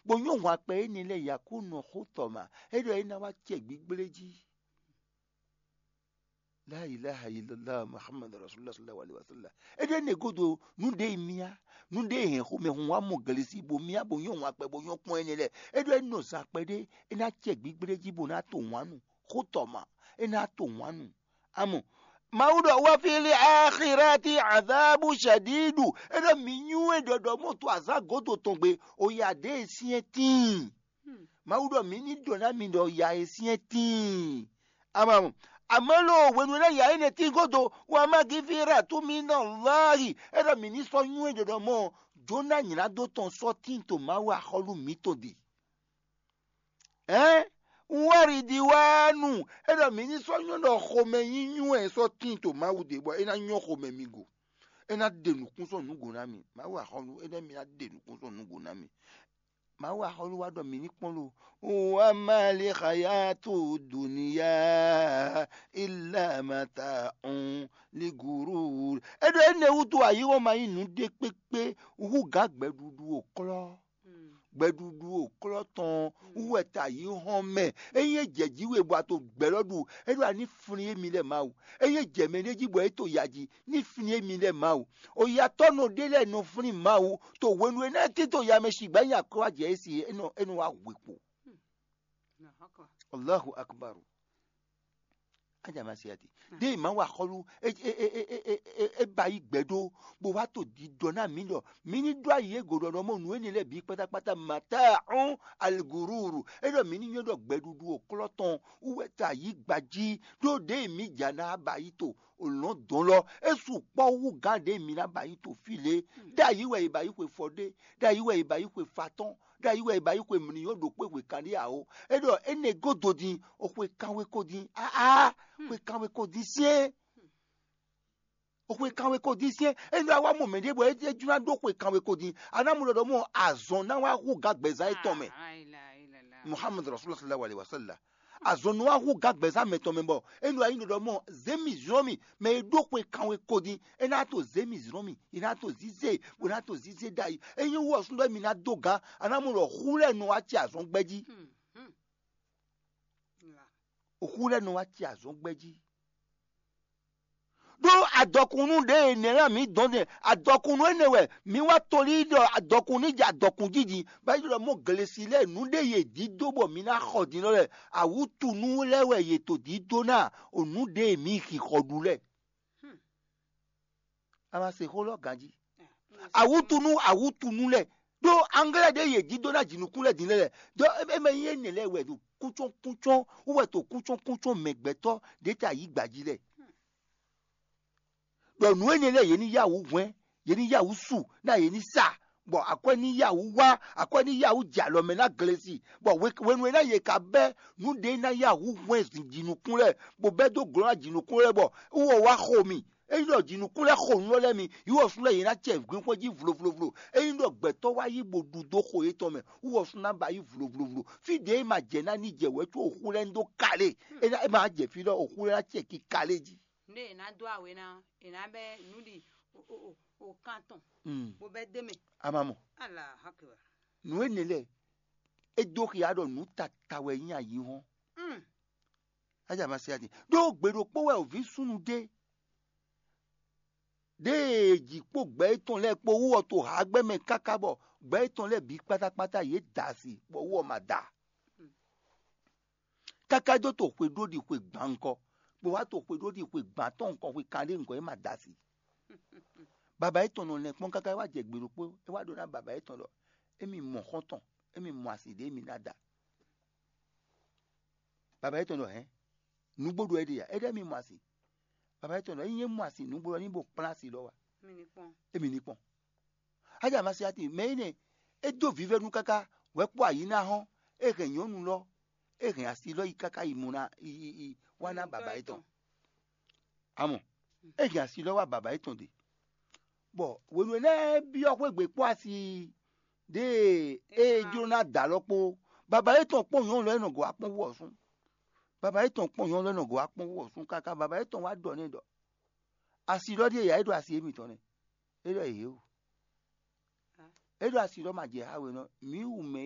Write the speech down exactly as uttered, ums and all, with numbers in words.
bó nyɔ́ hwan kpɛ énɛ́ lɛ́ɛ yakó nɔ xó tɔ ma, é ɖɔ é ná wá acɛ gbígblé jí. La ilaha illallah Muhammad Rasulullah sallallahu alaihi wasallam. É ɖɔ énɛ́ gúdo nú ɖé e myá, nú ɖé e hɛn xomɛhunhun wá mɔ glesi bó myá bó nyɔ́ hwan kpɛ bó nyɔ́ kpɔ́n énɛ́ lɛ́ɛ. É ɖɔ é nɔ zan kpɛɖé, é ná acɛ gbígblé jí bó ná to wǎn nu, xó tɔ ma, é ná to wǎn nu. Amɔ Mawu ɖɔ wá fili axirati azabu shadidu. É ɖɔ mǐ nywɛ́ ɖɔɖɔ mɔ to azǎn gǒdo tɔn gbe, o ya ɖě e syɛ́n tíin. Mawu ɖɔ mǐ ní ɖɔ ná mi ɖɔ ya e syɛ́n tíin. Amɔ amɔ amɔ̌ lo hwenu e ná ya énɛ́ tín gúdo, wǎ má gífí rà tú mì nɔ láàyè. É ɖɔ mǐ ní sɔ́ nywɛ́ ɖɔɖɔ mɔ Jona nylá dó tɔn sɔ́ tíin to Mawu axɔ́lú mǐtɔn ɖe. Ɛ̌n, wáridiwánu, é ɖɔ mǐ ní sɔ́ nyɔ́ ɖɔ xomɛ nyí nywɛ́ sɔ́ tíin to Mawu ɖe bɔ é ná nyɔ́ xomɛ mi go. É ná ɖe nǔkún sɔ́ nǔ go ná mi. Mawu axɔ́lú, é ɖɔ mǐ ná ɖe nǔkún sɔ́ nǔ go ná mi. Mawu axɔ́lú wá ɖɔ mǐ ní kpɔ́n lo. Wá má lé xayátu duniya ilá mata un liguru. É ɖɔ énɛ́ wútu ayǐ ɔ́ ma nyí nǔɖé kpékpé hú gǎn gbɛɖuɖu o klɔ́. Gbɛɖuɖu o klɔ́ tɔn wú wɛ ta yí hɔn mɛ. Ényí é jɛ jí we bɔ a to gbɛ lɔ ɖu, é ɖo ani flin émi lɛ Mawu. Ényí é jɛ mɛ ɖé jí bɔ é to ya jí, ní flin émi lɛ Mawu. Oyatɔ́ nɔ ɖé lɛ́ɛ nɔ flin Mawu. To hwenu e ná é tito ya mɛ sigba nyi akwɛ́ wá jɛ é si é nɔ é nɔ wá hwe kpo. Allahu akbar. Aja ma se ati. Ɖé ma wa xɔlu é ba yi gbɛ ɖó bó wá to ɖiɖɔ ná mǐ ɖɔ mǐ ní ɖó ayi e gǒɖɔ ɖɔ mɔ nǔ énɛ́ lɛ́ɛ bǐ kpátákpátá mata ɔn aligururu. É ɖɔ mǐ ní nyɔ́ ɖɔ gbɛɖuɖu o klɔ́ tɔn wú wɛ ta yí gbají ɖó ɖě mǐ ja ná ba yi to o lɔ̌n dɔn lɔ. É su kpɔ́ wú gán ɖě mǐ ná ba yi to fí lě. Ɖ'ayǐ wɛ è ba yi xwe fɔ ɖé, ɖ'ayǐ wɛ è ba yi xwe fa tɔn, ɖ'ayǐ wɛ è ba yi xwe mǐ ní nyɔ́ ɖo kpé hwe kanɖíá o. É ɖɔ énɛ́ gúdo din, o xwe kanwe ko din. Aa, xwe kanwe ko din syɛ́n. O xwe kanwe ko din syɛ́n. É nɔ wá mɔ mɛ ɖé bɔ é jló ná ɖó xwe kanwe ko din. A ná mɔ ɖɔ ɖɔ mɔ azɔn ná wá hú gǎgbɛzán étɔn mɛ. Muhammad Rasulullah sallallahu alaihi wasallam. Azɔn nɔ wá hú gǎgbɛzán mɛ tɔn mɛ bɔ é nɔ wá nyí ɖɔ ɖɔ mɔ zě mì zlɔ́n mì mɛ e ɖó xwe kanwe ko din. É ná to zě mì zlɔ́n mì, é ná to zízé, bó ná to zízé ɖ'ayǐ. É nyí wú ɔ́ súnnu mi ná dó gǎn, a ná mɔ ɖɔ xú lɛ́ɛ nɔ wá ci azɔn gbɛ́ jí. Xú lɛ́ɛ nɔ wá ci azɔn gbɛ́ jí. Ɖó adɔkunnú ɖě e nɛ̌ ná mǐ dɔn nɛ́, adɔkunnú énɛ́ wɛ mǐ wá tolí ɖɔ adɔkun ní jɛ adɔkun jí din, bɔ é ɖɔ mɔ glesi lɛ́ɛ nǔɖé yě dídó bɔ mǐ ná xɔ din lɔ lɛ́ɛ, awǔtunú lɛ́ɛ wɛ yě to dídó ná o nǔɖé e mǐ xixɔ ɖu lɛ́ɛ. A ma se xó lɔ ganjí. Awútunú awútunú lɛ́ɛ ɖó anglɛ́ ɖé yě jí dó ná jǐnukún lɛ́ɛ din lɛ́ɛ lɛ́ɛ. Ɖó é mɛ nyí énɛ́ lɛ́ɛ wɛ ɖo kúnchɔ́nkúnchɔ́n wú wɛ to kúnchɔ́nkúnchɔ́n mɛ gbɛtɔ́ ɖě ta yǐ gbají lɛ́ɛ. Ɖɔ nǔ énɛ́ lɛ́ɛ yě ní yá wǔ hwɛ́n, yě ní yá wǔ su, ná yě ní sa, bɔ akwɛ́ ní yá wǔ wá, akwɛ́ ní yá wǔ jɛ alɔ mɛ ná glesi, bɔ hwenu e ná yě ka bɛ́ nǔ ɖě ná yá wǔ hwɛ́n jǐnukún lɛ́ɛ, bó bɛ́ dó glɔ́ ná jǐnukún lɛ́ɛ bɔ wú ɔ wá xo mì. Ényí ɖɔ jǐnukún lɛ́ɛ xo nǔ lɛ́ɛ mi, yí wɔ sú lɛ́ɛ yě ná cɛ gbɛ́nxwé jí vlovlovlo. Ényí ɖɔ gbɛtɔ́ wá yí bo ɖu dó xo yětɔn mɛ, wú wɔ sú ná ba yí vlovlovlo. Fí ɖě é ma jɛ ná ní jɛ wɛ̌ có oxú lɛ́ɛ ní dó kalé. É ná é ma jɛ fí ɖɔ oxú lɛ́ɛ ná cɛ ki kalé jí. Nú è nǎ dó awě ná, è nǎ bɛ́ nǔ ɖi o- o- o- o kan tɔn, Mm. Bó bɛ́ dó mɛ. A ma mɔ. Alahu Akbar. Nǔ énɛ́ lɛ́ɛ, é dó xia ɖɔ nǔ tata wɛ nyí ayǐhɔ́n. Mm. Aja ma se ati. Ɖó gbe ɖokpó wɛ òví súnnu ɖé. Ɖěe jǐ kpó gbɛ étɔn lɛ́ɛ kpó wú ɔ́ to hǎgbɛ́ mɛ káká bɔ gbɛ étɔn lɛ́ɛ bǐ kpátákpátá yě da asi, bɔ wú ɔ́ ma da. Káká dó to xwe ɖó ɖi xwe gbǎn ŋkɔ, bó wá to xwe ɖó ɖi xwe gbǎn tɔn ŋkɔ xwe kanɖé ŋkɔ é ma da asi. Baba étɔn nɔ lɛn kpɔ́n káká é wá jɛ gbe ɖokpó, é wá ɖɔ ná baba étɔn ɖɔ émi mɔ xɔ́ntɔn, émi mɔ asi ɖě émi ná da. Baba étɔn ɖɔ hɛn, nǔgbó ɖo é ɖe ya, é ɖɔ émi mɔ asi. Baba étɔn ɖɔ ényí é mɔ asi nǔgbó ɔ́ ní bo kplán asi lɔ wá. Émi ní kpɔn. Aja ma se ati mɛ énɛ́, é dó vívɛ́nu káká, wɛ̌ kpó ayǐ ná hɔ́n, é hɛn nyɔ̌nu lɔ, é hɛn asi lɔ yi káká yi mɔ ná yi yi yi wá ná baba étɔn. Amɔ é hɛn asi lɔ wá baba étɔn ɖe. Bɔ hwenu e ná byɔ́ xwé gbe kpó asi ɖěe é jló ná da lɔ kpó, baba étɔn kpɔ́n nyɔ̌nu lɔ é nɔ gɔ̌ wá kpɔ́n wú ɔ́ sún. Baba étɔn kpɔ́n nyɔ̌nu lɔ é nɔ gɔ̌ wá kpɔ́n wú ɔ́ sún káká baba étɔn wá ɖɔ n'i ɖɔ asi lɔ ɖíe yǎ é ɖo asi émítɔn nɛ́. É ɖɔ yě o. É ɖo asi lɔ ma jɛ ha we nɔ mǐ wú mɛ